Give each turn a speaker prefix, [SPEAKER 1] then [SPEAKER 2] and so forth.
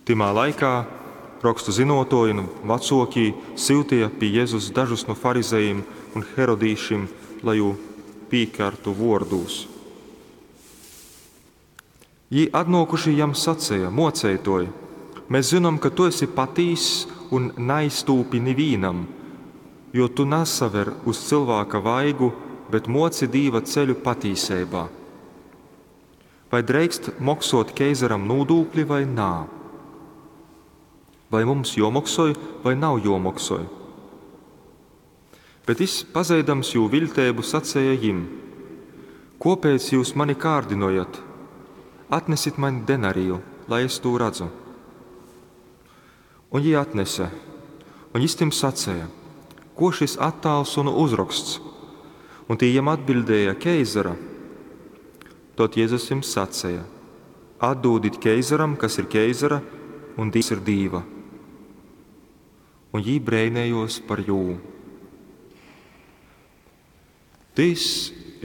[SPEAKER 1] Tymā laikā rokstu zynōtōji un vacōkī syuteja pi Jezus dažus nu farizejim un herodīšim, lai jū pīkartu vōrdūs. Jī atnōkuši jam saceja: Mōceitōj, mes zynom, ka tu esi patīss un naiztūpi nivīnam, jo tu nasaver uz cylvāka vaigu, bet mōci Dīva ceļu patīseibā. Vai dreikst moksōt keizaram nūdūkli vai nā? Vai mums jōmoksoj, vai nav jōmoksoj? Bet jys, pazeidams jū viļteibu, saceja jim, Kōpēc jyus mani kārdynojat? Atnesit maņ denariju, lai es tū radzu. Un jī atnese. Un jys tim saceja, Kō šys attāls un uzroksts? Un tī jam atbiļdēja, Keizara. Tod Jezus jim saceja, Atdūdit keizaram, kas ir keizara, un Dīvs ir Dīva. Un jī breinējōs par jū. Tys